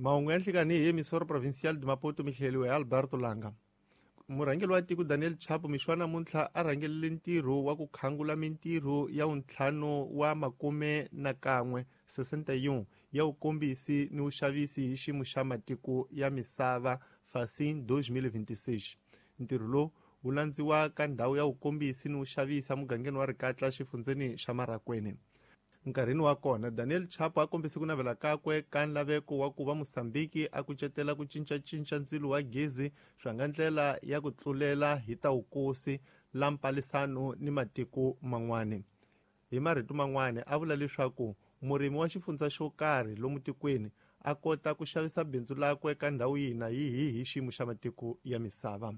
Mahungu ya nhlikani hi Emissora Provincial de Maputo mi hleliwe hi Alberto Langa. Murhangeri wa tiko Daniel Chapo mixo wa namuntlha a rhangelele ntirho wa ku khangula mintirho ya wuntlhanu wa makume na kan'we 61 ya wukombisi ni wuxavisi hi xiyimo xa matiko ya misava Facim 2026. Ntirho lowu wu landziwa ka ndhawu ya wukombisi ni wuxavisi emugangeni wa Rikatla xifundzeni xa Marracuene. Nkarhini wa kona, Daniel Chapo a kombise ku navela kakwe ka nlaveko wa ku va Mosambiki a kucetela ku cincacinca ndzilo wa gezi swa nga ndlela ya ku tlulela hi ta wukosi la mpalisano ni matiko man'wana. Hi marito man'wana, a vula leswaku murimi wa xifundza xo karhi lomu tikweni a kota ku xavisa bindzu lakwe ka ndhawu yihi na yihi hi xiyimo xa matiko ya misava.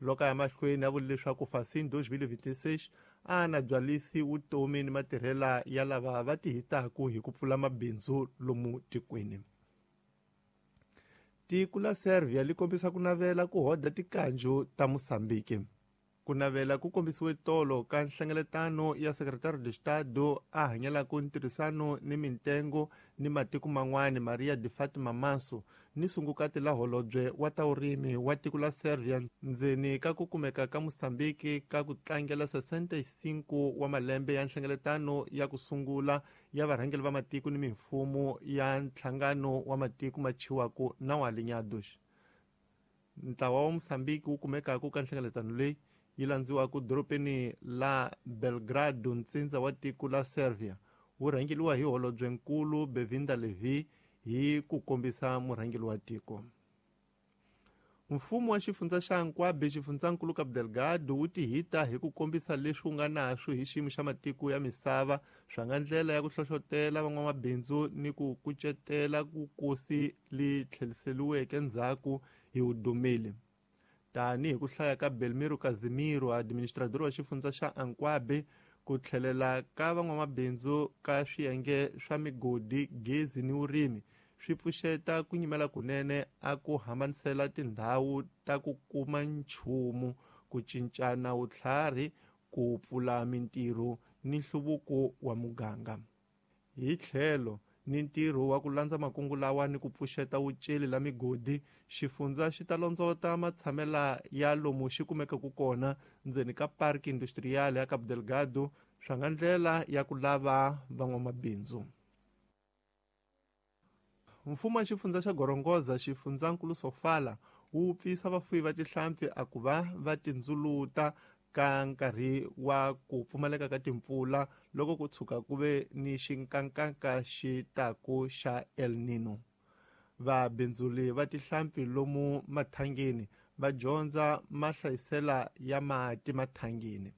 Loko a ya mahlweni a vule leswaku Facim 2026 a na byalisi vutomi ni matirhela ya lava va tihitaku hi ku pfula mabindzu lomu tikweni. Tiko la Serbia li kombisa ku navela ku hoda tikanju ta Mosambiki. Ku navela ku kombisiwe tolo ka nhlengeletano ya Secretario de Estado a hanyelaka ntirhisano ni mintengo ni matiko man'wana Maria de Fatima Manso ni sungukati la holobye wa ta vurimi wa tiko la Serbia ndzeni ka ku kumeka ka Mosambiki ka ku tlangela 65 wa malembe ya nhlengeletano ya ku sungula ya varhangeri va matiko ni mimfumo ya nhlangano wa matiko ma chiwaku na wa Alinhados. Ntlawa wa Mosambiki wu kumekaka ka nhlengeletano leyi yi landziwaka dorobeni la Belgrado ntsindza wa tiko la Serbia wu rhangeriwa hi holobyenkulu Bevinda Levi hi ku kombisa murhangeri wa tiko. Mfumo wa xifundza xa Ancuabe xifundzankulu Cabo Delgado wu tihita hi ku kombisa leswi wu nga naswo hi xiyimo xa matiko ya misava swa nga ndlela ya ku hlohlotela van'wamabindzu ni ku kucetela vukosi li tlheriseriweke ndzhaku hi vudumeli. Tanihi ku hlaya ka Belmiro Casimiro, administrador wa xifundza xa Ancuabe, ku tlhelela ka van'wamabindzu ka swiyenge swa migodi, gezi ni vurimi swi pfuxeta ku nyimela kunene a ku hambanisela tindhawu ta ku kuma nchumu, ku cincana vutlhari, ku pfula mintirho ni nhluvuko wa muganga. Hi tlhelo ni ntirho wa ku landza makungu lawa ni ku pfuxeta wuceli la migodi, xifundza xi ta londzota matshamela ya lomu xi kumekaka kona ndzeni ka Parque Industrial ya Cabo Delgado swa nga ndlela ya ku lava van'wamabindzu. Mfumo wa xifundza xa Gorongosa xifundzankulu Sofala wu pfisa vafuwi va tihlampfi a ku va va tindzuluta ka nkarhi wa ku pfumaleka ka timpfula loko ku tshuka ku ve ni xinkankanka xi taku xa El Nino. Vabindzuli va tihlampfi lomu mathangeni va dyondza mahlayisela ya mati mathangeni.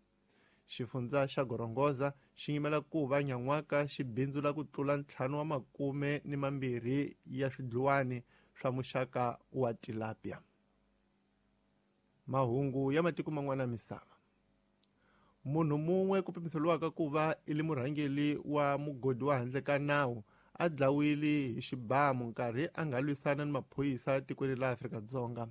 Xifundza xa Gorongosa xi yimela ku va nyan'waka xi bindzula ku tlula 5 wa makume ni mambirhi ya swidluwani swa muxaka wa tilapia. Mahungu ya matiko man'wana ya misava. Munhu mun'we ku pimiseriwaka ku va i li murhangeri wa mugodi wa handle ka nawu a dlawile hi xibamu nkarhi a nga lwisana ni maphorisa tikweni la Afrika-Dzonga.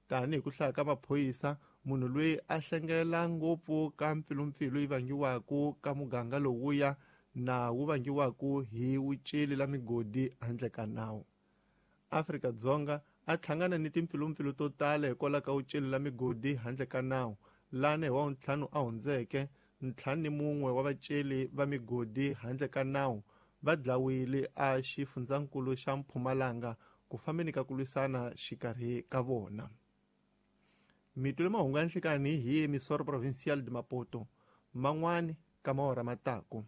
Tanihi ku hlaya ka maphorisa, munhu loyi a hlengela ngopfu ka mpfilumpfilu yi vangiwaka ka muganga lowuya na wu vangiwaka hi wuceli la migodi handle ka nawu. Afrika-Dzonga a hlangana ni timpfilumpfilu to tala hikwalaho ka wuceli la migodi handle ka nawu lani hi wa ntlhanu a hundzeke 51 wa vaceli va migodi handle ka nawu va dlawile a xifundzankulu xa Mpumalanga ku fambeni ka ku lwisana xikarhi ka vona. Mitwile mahungu ya nhlikani hi Emissora Provincial de Maputo man'wani ka maora mataku.